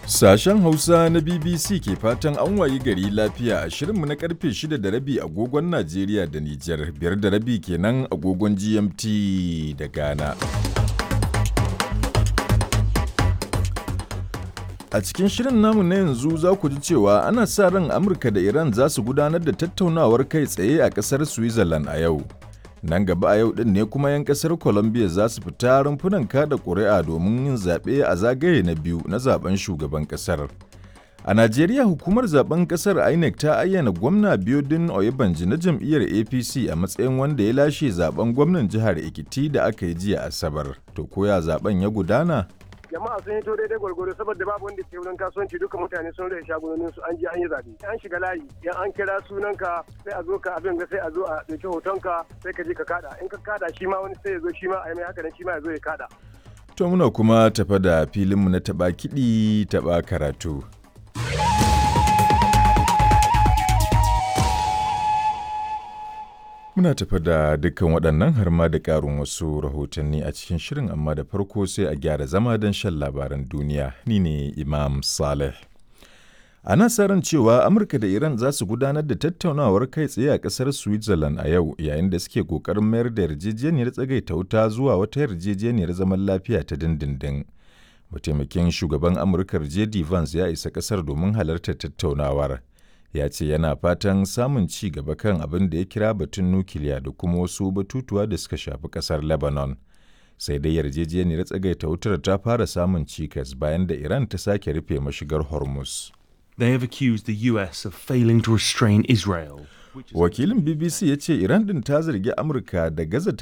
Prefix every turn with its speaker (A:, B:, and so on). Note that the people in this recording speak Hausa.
A: Sashen Hausa na BBC ke fatan an wayi gari lafiya a shirinmu na karfe 6 da rabi agogon Najeriya da Nijar, 5:30 kenan agogon GMT da Ghana. A cikin shirin namu na yanzu za ku ji cewa ana sa ran Amurka da Iran za su gudanar da tattaunawar kai tsaye a ƙasar Switzerland a yau. Nan gaba a yau ɗin ne kuma 'yan ƙasar Colombia za su fita rumfunan kada ƙuri'a domin yin zaɓe a zagaye na biyu na zaben shugaban ƙasar. A Najeriya, hukumar zaben ƙasar INEC ta ayyana gwamna Biodun Oyebanji na jam'iyyar APC a matsayin wanda ya lashe zaben gwamnan jihar Ekiti da aka yi jiya Asabar. To koya zaben ya gudana?
B: Jama'a sun hito daidai gwargwaro saboda babu wanda ke wurin kasuwanci, duka mutane sun rage shagunonin su, an je an yi zabe, an shiga layi, yan an kira sunanka sai a zo ka abin ga, sai a zo a dauki hotonka, sai ka je ka kada. In ka kada, shi ma wani sai ya zo, shi ma a yi mai haka nan, shi ma ya zo ya kada.
A: To muna kuma tafa da filinmu na taɓa kiɗi taɓa karatu. Muna tafa da dukkan waɗannan har ma da ƙarin wasu rahotanni a cikin shirin, amma da farko sai a gyara zama don shan labaran duniya. Ni ne Imam Saleh. Ana sa ran cewa Amurka da Iran za su gudanar da tattaunawar kai tsaye a ƙasar Switzerland a yau, yayin da suke ƙoƙarin mayar da yarjejeniyar tsagaita wuta zuwa wata yarjejeniyar zaman lafiya ta dindindin. Mataimakin shugaban Amurkar JD Vance ya isa ƙasar domin halartar tattaunawar. Ya ce yana fatan samun ci gaba kan abin da ya kira batun nukiliya da kuma wasu batutuwa da suka shafi kasar Lebanon. Sai dai yarjejeniyar tsagaita wutar ta fara samun cikas bayan da Iran ta sake rufe mashigar Hormuz.
C: They have accused the US of failing to restrain Israel.
A: Wakilin BBC ya ce Iran din ta zargi Amurka da gaza ta